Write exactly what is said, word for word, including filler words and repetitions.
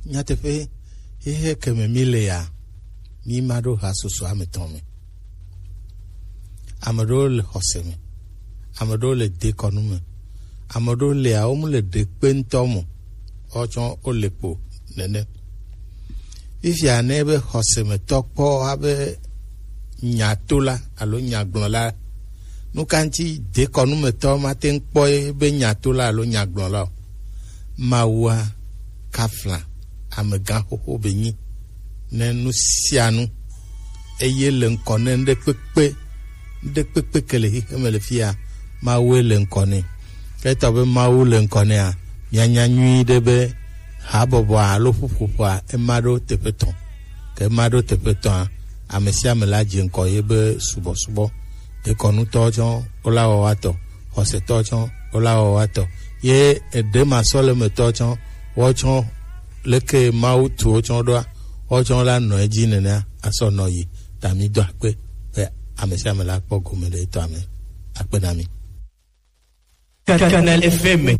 Nyateƒe, xexe ke me mí le ya, mí ma ɖo ha susu ame tɔn me. Ame ɖewo le xɔse me, ame ɖewo le dekɔnu me, ame ɖewo le ya wo mu le ɖekpe ŋutɔ me, wotsɔ wo le kpo nene. Fifia ne be xɔsemetɔ kpɔ abe nyatola alo nyagblɔla, nu ka ŋuti dekɔnumetɔ mate ŋu kpɔ ye be nyatola alo nyagblɔla o? Mawua kafla amegã xoxo be nyi ne nu sia nu, eye le ŋkɔ ne ŋɖe kpekpe, ŋɖe kpekpe ke le xexe me le fia, Mawue le ŋkɔ nɛ. Ke etɔ be Mawu le ŋkɔ nɛa, mianya nyuie ɖe be habɔbɔa alo ƒuƒoƒoa ema ɖo teƒe tɔn. Ke ema ɖo teƒe tɔa, ame sia ame la dze ŋkɔ ye be subɔsubɔ. Dekɔnutɔwo tsɔ wola wɔ woatɔ, xɔsetɔwo tsɔ wola wɔ woatɔ, ye eɖe ma sɔ le metɔwo tsɔ wotsɔ leke Mawu tu wotsɔ ɖoa, wotsɔ la nɔ edzi nenea asɔ nɔ yi. Ta mi do akpe be ame sia ame la kpɔ gome le etɔa me. Akpe na mi. Canal F M.